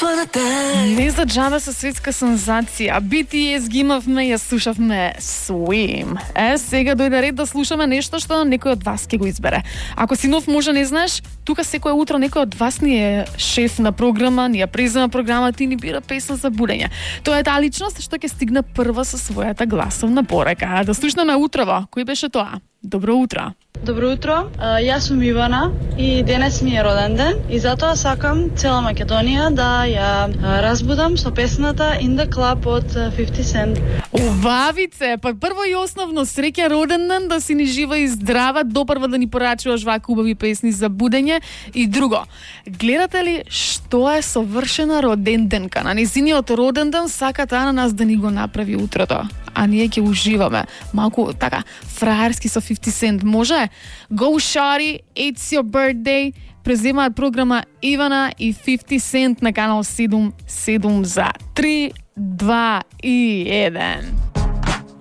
Не за џабе со светска сензација. BTS ги имавме, ја слушавме Swim. Сега дојде ред да слушаме нешто што некој од вас ќе го избере. Ако си нов, може не знаеш, тука секое утро некој од вас ни е шеф на програма, ни ја презема програмата и ни бира песна за будење. Тоа е таа личност што ќе стигне прва со својата гласовна порека. Да слушнеме утрово. Кој беше тоа? Добро утро. Добро утро, јас сум Ивана и денес ми е роден ден и затоа сакам цела Македонија да ја разбудам со песната In the Club од 50 Cent. Убавице, па прво и основно среќа роден ден, да си ни жива и здрава, допрва да ни порачуваш вака убави песни за будење. И друго, гледате ли што е совршена роден денка? На незиниот роден ден сака таа на нас да ни го направи утрото, а ние ќе уживаме малку така фраерски со 50 Cent. Може? Go Shawty, It's Your Birthday. Преземаат програма Ивана и 50 Cent на канал 7 за 3, 2 и 1.